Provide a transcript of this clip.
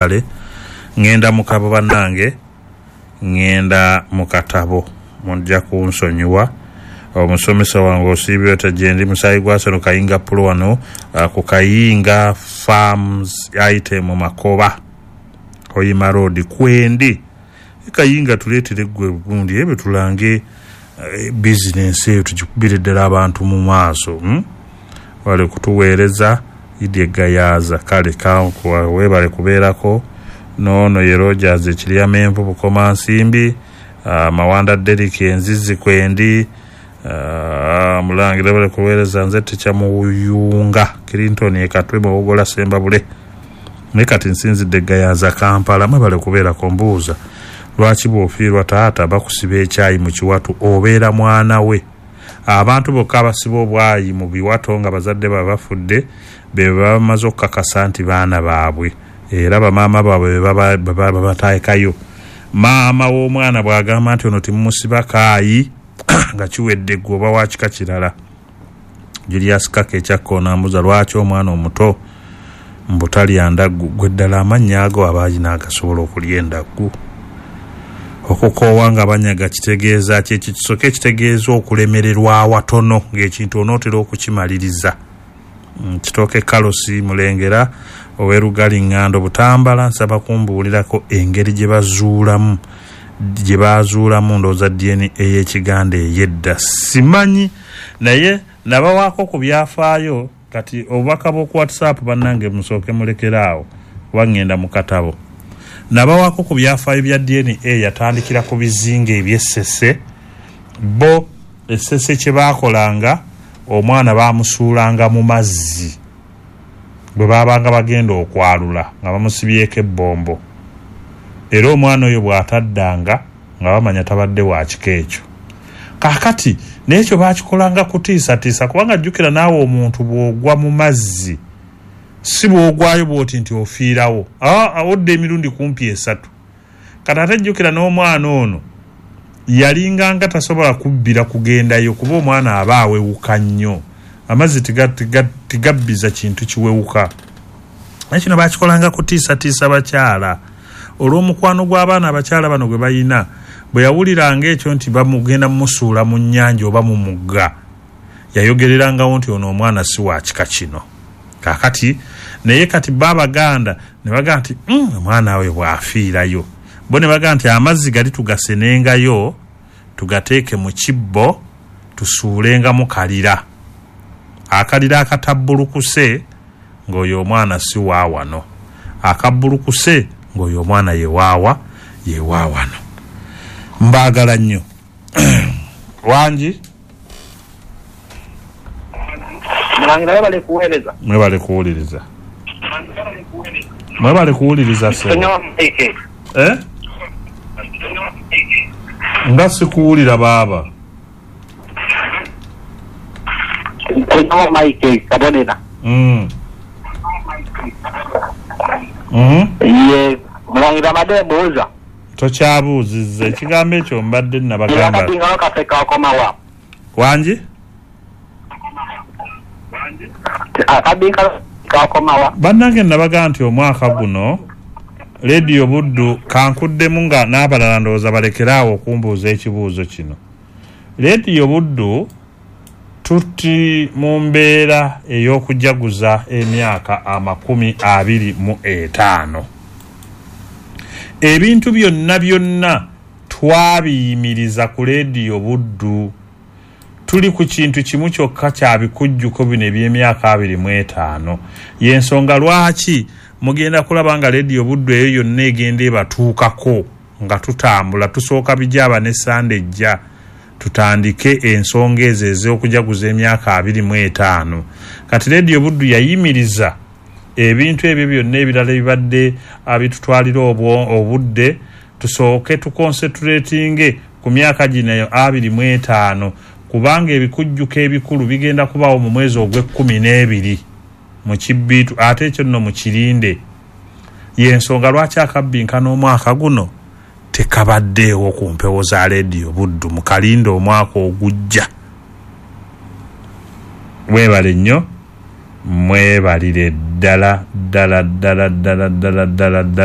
Kale ŋŋenda mu kabo bannange, ŋŋenda mu katabo, mujja kunsonyiwa. Omusomesa wange osiibye otya? Gyendi musaayi gwa Seno Kayinga Pulo wano ku Kayinga Farms Item Makoba Hoima Road kwendi. Kayinga tuleetere gwe gundi ebyo tulange bizinensi eyo tugikubire ddala abantu mu maaso. Hmm? Webale kutuweereza Idye Gayaza. Kale webale kubeerako n'ono ye Rogers Ekiryamenvu Bukomansimbi, Mawanda Derrick Enzizi kwendi. Mulangira webale kuweereza nze Teacher Muyunga Clinton e Katwe Muwogola Sembabule. Naye kati nsinzidde Gayaza Kampala. Mwebale kubeerako. Mbuuza lwaki bw'ofiirwa taata bakusiba ekyayi mu kiwato obeera mwana we? Abantu bokka abasiba obwayi mu biwato nga bazadde baabwe bafudde be baba bamaze okukakasa nti baana baabwe era bamaama baabwe be babateekayo. Maama w'omwana bw'agamba nti ono timumusiba kaayi nga kiwedde ggwe oba wa kika kirala. Julius Kaka ekyakkoona ambuuza lwaki omwana omuto mbu talya ndaggu. Ggwe ddala amannya ago aba alina agasobola okulya endaggu? Okukoowa nga banyaga kitegeeza ki? Ekyo kisooke ekitegeeza okulemererwa awatono ng'ekintu onootera okukimaliriza. Kitooke Carlos Mulengera ow'e Lugali Ngando Butambala nsaba kumbuulirako engeri gye bazuulamu gye baazuulamu ndowooza DNA ey'Ekiganda ey'edda. Simanyi naye nabawaako ku byafaayo kati obubaka bw'oku WhatsApp bannange musooke mulekere awo kuba ŋŋenda mu katabo. Nabawaako ku byafaayo bya DNA yatandikira ku bizinga eby'e Ssese. Bo e Ssese kye baakolanga omwana baamusuulanga mu mazzi bwe baabanga bagenda okwalula nga bamusibyeko ebbombo era omwana oyo bw'ataddanga nga bamanya tabadde wa kika ekyo. Kaakati n'ekyo baakikolanga kutiisatiisa kubanga jjukira naawe omuntu bw'ogwa mu mazzi si bw'ogwayo bw'oti nti ofiirawo, aa odda emirundi kumpi esatu. Kati ate jjukira n'omwana ono yalinganga tasobola kubbira kugendayo kuba omwana aba awewuka nnyo. Amazzi tigabbiza kintu kiwewuka. Naye kino baakikolanga kutiisatiisa bakyala olw'omukwano gw'abaana abakyala bano gwe balina. Bwe yawuliranga ekyo nti bamugenda mumusuula mu nnyanja oba mu mugga, yayogererangawo nti ono omwana si wa kika kino. Kaakati naye kati bo Abaganda ne bagamba nti omwana oyo bw'afiirayo, bo ne bagamba nti amazzi gali tugasenengayo tugateeke mu kibbo tusuulengamu kalira. Akalira akatabbulukuse ng'oyo omwana si wa wano, akabbulukuse ng'oyo omwana ye waawa ye wa wano. Mbaagala nnyo. Wangi? Mulangira webale kuweereza. Mwebale kuwuliriza. Mwebale kuwuliriza ssebo. Sonyiwa Mike. Eh? Nga sikuwulira baaba. Sonyiwa Mike Kabonera. Ye Mulangira mbadde mbuuza. Tokyabuuzizza ekigambo ekyo mbadde nabagamba. Akabinga kaffe kakomawa. Wangi? Akabinga kakomawa. Bannange nabagamba nti omwaka guno Leediyo Buddu kankuddemu nga n'abalala ndowooza balekere awo okumbuuza ekibuuzo kino. Leediyo Buddu tuti mu mbeera ey'okujaguza emyaka 25. Ebintu byonna byonna twabiyimiriza ku Leediyo Buddu. Tuli ku kintu kimu kyokka kya bikujjuko bino eby'emyaka 25. Y'ensonga lwaki mugenda kulaba nga Leediyo Buddu eyo yonna egenda ebatuukako nga tutambula tusooka bijaaba ne Sande ejja tutandike ensonga ezo ez'okujaguza emyaka 25. Kati Leediyo Buddu yayimiriza ebintu ebyo byonna ebirala ebibadde bitutwalira obudde tusooke tukonsentratinge ku myaka gino 25 kubanga ebikujjuko ebikulu bigenda kubaawo mu mwezi ogw'e12 mu Kibbiitu ate ekyo nno mukirinde. Y'ensonga lwaki akabbinkano omwaka guno tekabaddeewo ku mpewo za Leediyo Buddu mukalinde omwaka ogujja. Mwebale nnyo, mwebalire ddala ddala ddala ddala ddala ddala ddala.